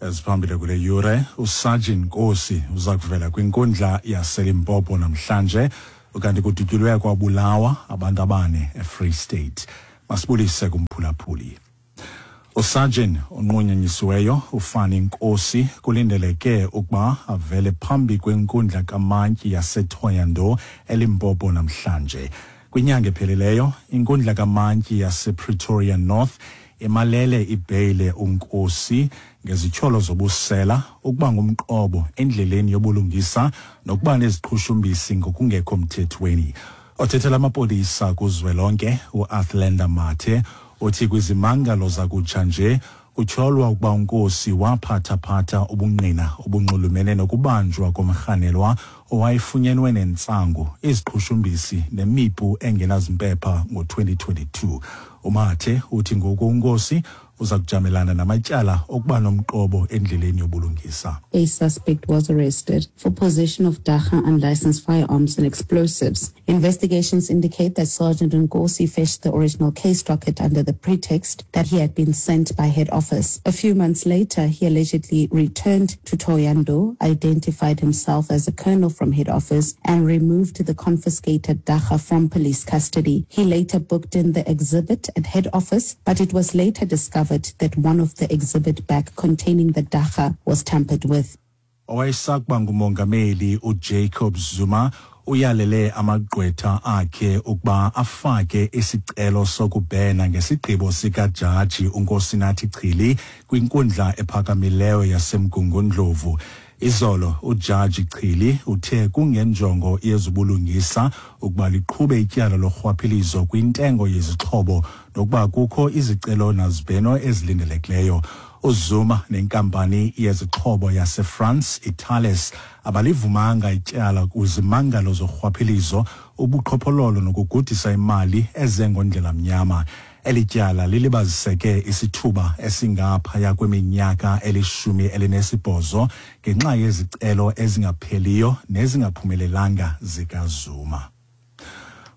Eziphambili kule yure, uSergeant Nkosi uza kuvela kwinkundla yaseLimpopo namhlanje, ukanti kudutyulwe kwabulawa abantu abane eFree State. Masibulise kumphulaphuli. USergeant onqunyanyisiweyo uFani Nkosi kulindeleke ukuba avele phambi kwenkundla kamantyi yaseThohoyandou eLimpopo namhlanje. Kwinyanga ephelileyo, inkundla kamantyi yasePretoria North imalele ibheyile uNkosi ngezityholo zobusela, ukuba ngumqobo endleleni yobulungisa nokuba neziqhushumbisi ngokungekho mthethweni. Othethela amapolisa kuzwelonke uAthlenda Mathe uthi kwizimangalo zakutsha nje kutyholwa ukuba uNkosi waphathaphatha ubungqina obunxulumene nokubanjwa komrhanelwa owayefunyenwe nentsangu, iziqhushumbisi nemipu engenazimpepha ngo-2022. UMathe uthi ngoku uNkosi uza kujamelana namatyala okuba nomqobo endleleni yobulungisa. A suspect was arrested for possession of dagga, unlicensed firearms and explosives. Investigations indicate that Sergeant Nkosi fetched the original case docket under the pretext that he had been sent by head office. A few months later, he allegedly returned to Thohoyandou, identified himself as a colonel from head office, and removed the confiscated dagga from police custody. He later booked in the exhibit at head office, but it was later discovered that one of the exhibit bag containing the dagga was tampered with. Owayesakuba ngumongameli uJacob Zuma uyalele amagqwetha akhe ukuba afake isicelo sokubhena ngesigqibo sikajaji uNkosinathi Chili kwinkundla ephakamileyo yaseMgungundlovu. Izolo ujaji Chili uthe kungenjongo yezobulungisa ukuba liqhube ityala lorhwaphilizo kwintengo yezixhobo nokuba kukho izicelo nazibheno ezilindelekileyo. UZuma nenkampani yezixhobo yaseFrance iThales abalivumanga ityala kwizimangalo zorhwaphilizo, ubuqhophololo nokugudisa imali ezengondlela mnyama. Eli tyala lilibaziseke isithuba esingaphaya kweminyaka eli-18 ngenxa yezicelo ezingapheliyo nezingaphumelelanga zikaZuma.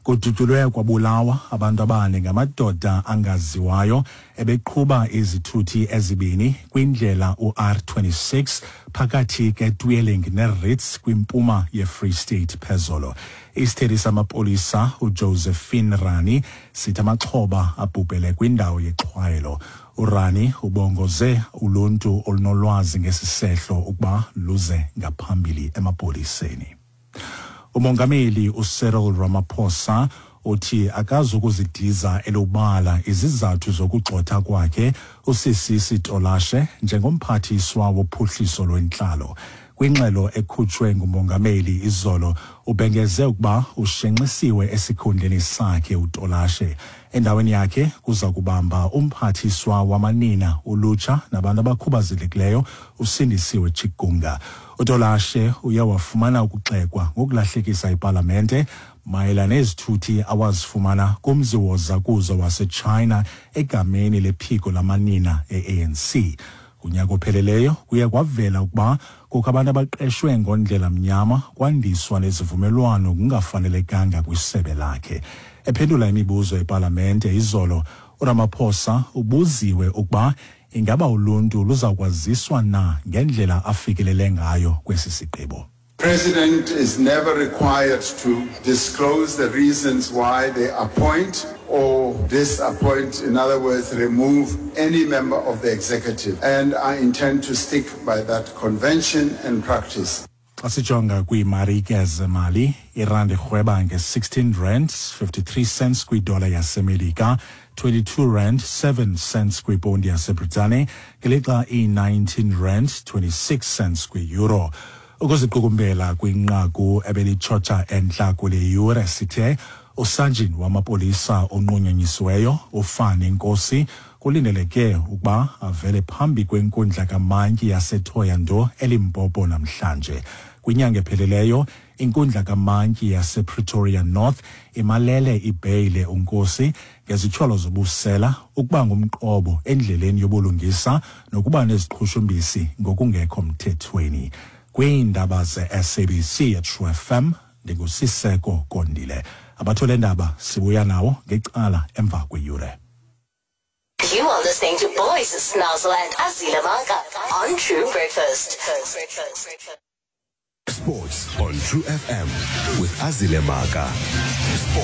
Kudutyulwe kwabulawa abantu abane ngamadoda angaziwayo ebeqhuba izithuthi ezibini kwindlela u-R26 phakathi keTweeling neRits kwimpuma yeFree State phezolo. Isithethi samapolisa uJosephine Rani sithi amaxhoba abhubhele kwindawo yexhwayelo. URani ubongoze uluntu olunolwazi ngesi sehlo ukuba luze ngaphambili emapoliseni. Umongameli uCyril Ramaphosa uthi akazukuzidiza elubala izizathu zokugxotha kwakhe uSisisi Tolashe njengomphathiswa wophuhliso lwentlalo. Kwingxelo ekhutshwe ngumongameli izolo, ubhengeze ukuba ushenxisiwe esikhundleni sakhe uTolashe. Endaweni yakhe kuza kubamba umphathiswa wamanina, ulutsha nabantu abakhubazekileyo uSindisiwe Chikunga. UTolashe uye wafumana ukugxekwa ngokulahlekisa ipalamente mayelana nezithuthi awazifumana kumzi wozakuzo waseChina egameni lephiko lamanina e-ANC. Kunyaka opheleleyo kuye kwavela ukuba kukho abantu abaqeshwe ngondlela mnyama kwandiswa nezivumelwano kungafanelekanga kwisebe lakhe. Ephendula imibuzo epalamente izolo, uRamaphosa ubuziwe ukuba ingaba uluntu luzakwaziswa na ngendlela afikelele ngayo kwesi sigqibo. President is never required to disclose the reasons why they appoint or disappoint, in other words, remove any member of the executive. And I intend to stick by that convention and practice. Xa sijonga kwiimarike zemali, irandi irhweba nge-16 rand 53 cents kwidola yaseMelika, 22 rand 7 cents kwiponti yaseBritane, ngelixa i-19 rand 26 cents kwi-euro. Ukuziqukumbela kwinqaku ebelitshotsha entla kule yure, sithe usajini wamapolisa onqunyanyisiweyo uFani Nkosi kulindeleke ukuba avele phambi kwenkundla kamantyi yaseThohoyandou eLimpopo namhlanje. Kwinyanga epheleleyo, inkundla kamantyi yasePretoria North imalele ibheyile uNkosi ngezityholo zobusela, ukuba ngumqobo endleleni yobulungisa nokuba neziqhushumbisi ngokungekho mthethweni. Kwiindaba ze-SABC eTrue FM, ndinguSiseko Kondile. Abathole ndaba sibuya nawo ngecala emva kweyure. You are listening to Boys Snazzle and Azila Maka on True Breakfast. Sports on True FM with Azile Maka. Sports.